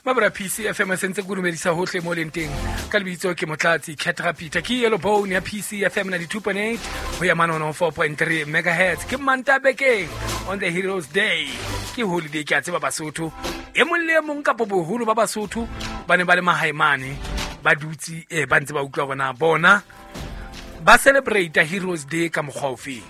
Mabra PCFM sentse ke dumedisa hohle mo leng teng ka lebitso ke Motlatsi Ketra Peter ke Yellow Bone ya PCFM 92.8 ho ya manono 4.3 megahertz ke Manta bekeng on the Heroes Day ke holiday ke a tseba Basotho e mong le e mong kapo boholo ba Basotho ba ne ba le mahae mane ba dutse ba ntse ba utlwa bona bona ba celebrate Heroes Day ka mokgwa ofeng.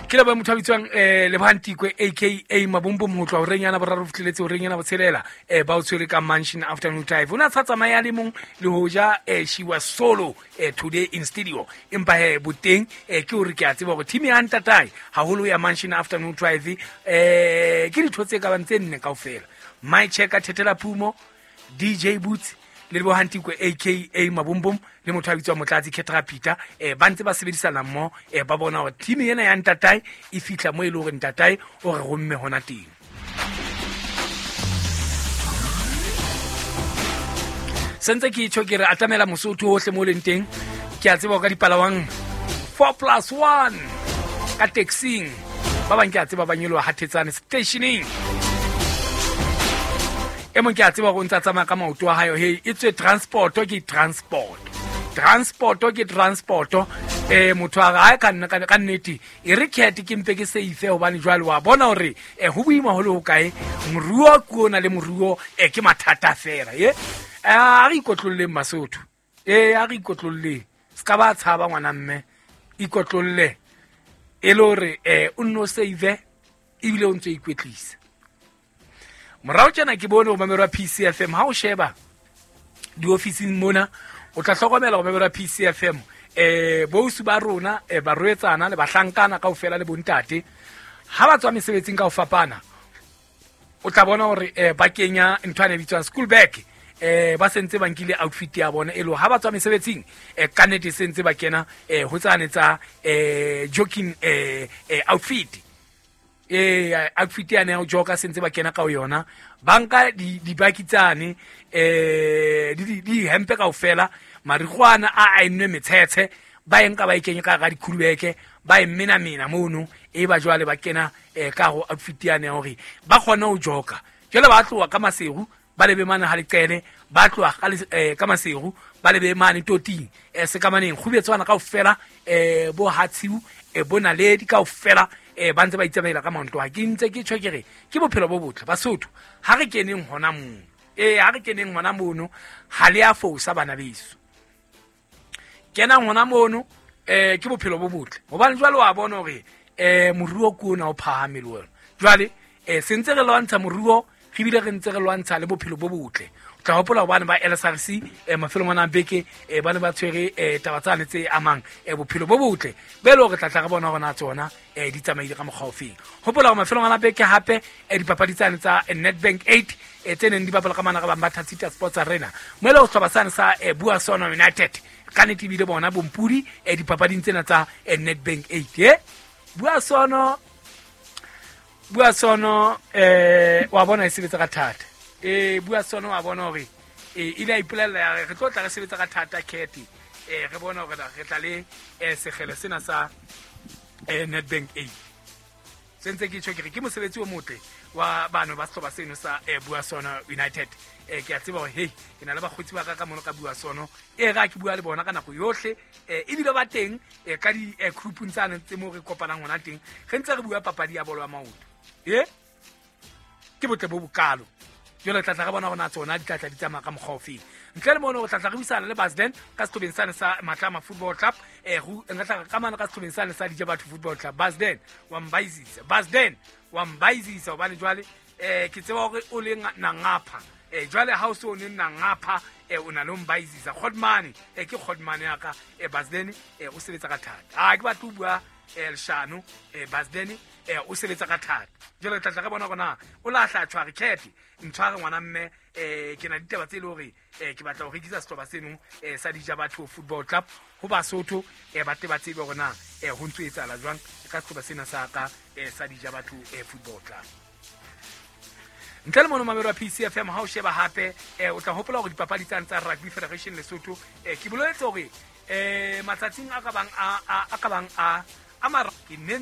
Ke leboha motho a bitswang Lebohang Tikwe aka Mabombom ho tloha horeng yana boraro fihleletse horeng yana botshelela ba o tshwere ka Mansion Afternoon Drive. O ne a sa tsamaya le mong le hoja she was solo today in studio, empa he boteng ke hore ke a tseba hore team ya ntatae haholo ya Mansion Afternoon Drive ke ditho tse ka bang tse nne kaofela. My Checker Thethela Phumo, DJ Boots le Lebohang Tikwe aka Mabombom le motho a bitswang Motlatsi Ketra Peter ba ntse ba sebedisana mmoho ba bona hore team ena ya ntatae e fihla mo e le hore ntatae o re romme hona teng. Sentse ke tjho ke re atamela Mosotho hohle mo leng teng, ke a tseba ka dipalawang 4+1 ka taxing, ba bang ke a tseba ba nyoloha Hathetsane stationeng, e mong ke a tseba hore o ntse a tsamaya ka maoto a hae, hey e tswe transport ke transport, transport ke transport. Motho a re ha ka nna ka nnete e re cat ke mpe ke safe hobane jwale wa bona hore ho boima ho le hokae, moruo ke ona le moruo ke mathata fela. A re ikotlolleng Basotho, a re ikotlolleng, se ka ba tshaba ngwana mme, ikotlolle e le hore o nno save ebile o ntse ikwetlisa. Morao tjena ke bone ho mamelwa PCFM, ha o sheba diofising mona o tla hlokomela ho mamelwa PCFM bousu ba rona barwetsana le bahlankana kaofela le bontate ha ba tswa mesebetsing ka ho fapana, o tla bona hore ba kenya ntho e bitswang school bag, ba sentse ba nkile outfit ya bona e le ha ba tswa mesebetsing ka nnete sentse ba kena ho tsane tsa jogging outfit. Outfit ya ne joka sentse ba kena ka ho yona, ba nka dibaki tsane di hempe kaofela, marikgwana a ennwe metshetshe ba e nka ba e kenye ka hara dikhulubeke, ba e menamena mono, e ba jwale ba kena ka ho outfit ya ne hore ba kgone ho joka. Jwale ba tloha ka Maseru ba lebe mane ha leqele, ba tloha ka Maseru ba lebe mane toting sekamaneng kgubetswana kaofela bo Hatshiu bo Naledi kaofela ba ntse ba itsamaela ka maoto. Ha ke ntse ke tjho ke re ke bophelo bo botle Basotho, ha re keneng hona mono, ha re keneng hona mono, ha le a fosa bana beso, kenang hona mono ke bophelo bo botle hobane jwale wa bona hore moruo ke ona o phahame le wena. Jwale sentse re lwantsha moruo re bile re ntse re lwantsha le bophelo bo botle. O tla hopola hobane ba LSRC mafelong ana a beke ba ne ba tshwere taba tsane tse amang bophelo bo botle be le hore tla tla re bona hore na tsona di tsamaile ka mokgwa ofeng. Hopola hore mafelong ana beke hape dipapadi tsane tsa Nedbank 8 tse neng di bapala ka mana ga bang ba Thatsita Sports Arena mo le ho sehlopha sane sa Bua Sono United ka nnete ebile bona bompudi dipapading tsena tsa Nedbank 8. Bua Sono, Bua Sono wa bona e sebetsa ka thata. Bua Sono wa bona hore ile a ipolella ya re tlo tla re sebetsa ka thata Cat, re bona hore re tla le sekgele sena sa Nedbank 8. Sentse ke tjho ke re ke mosebetsi o motle wa bano ba sehlopha seno sa Bua Sono United. Ke a tseba hore hey ke na le bakgotsi ba ka ka mono ka Bua Sono, e ra ke bua le bona ka nako yohle, ebile ba teng ka di groupung tsane tse mo re kopanang hona teng, re ntse re bua papadi ya bolo ya maoto. Ke botle bo bokalo. Jwale tla tla re bona hore tsona di tla tla di tsamaya ka mokgwa ofeng. Ntle le mono re tla tla re buisana le Basden ka sehlobeng sane sa Matlama Football Club, re tla ka mane ka sehlobeng sane sa Dijabatho Football Club. Basden wa mbaizisa, Basden wa mbaizisa hobane jwale ke tseba hore o le nangapha, jwale ha o so ne nangapha o na le mbaizisa Kgodmane, ke Kgodmane ya ka Basden o sebetsa ka thata. Ha ke batle ho bua leshano, Basden o sebetsa ka thata. Jwale tla tla re bona hore na o lahla tshware cat ntshware ngwana mme, ke na ditaba tse le hore ke batla ho rekisa sehlopha seno sa Dijabatho Football Club ho Basotho, ba tle ba tsebe hore na ho ntso etsahala jwang ka sehlopha sena sa ka sa Dijabatho Football Club. Ntle le mono mamelo wa PCFM ha o sheba hape o tla hopola hore dipapadi tsane tsa Rugby Federation Lesotho ke boletse hore matsatsing a ka bang a ka bang a mara ke ne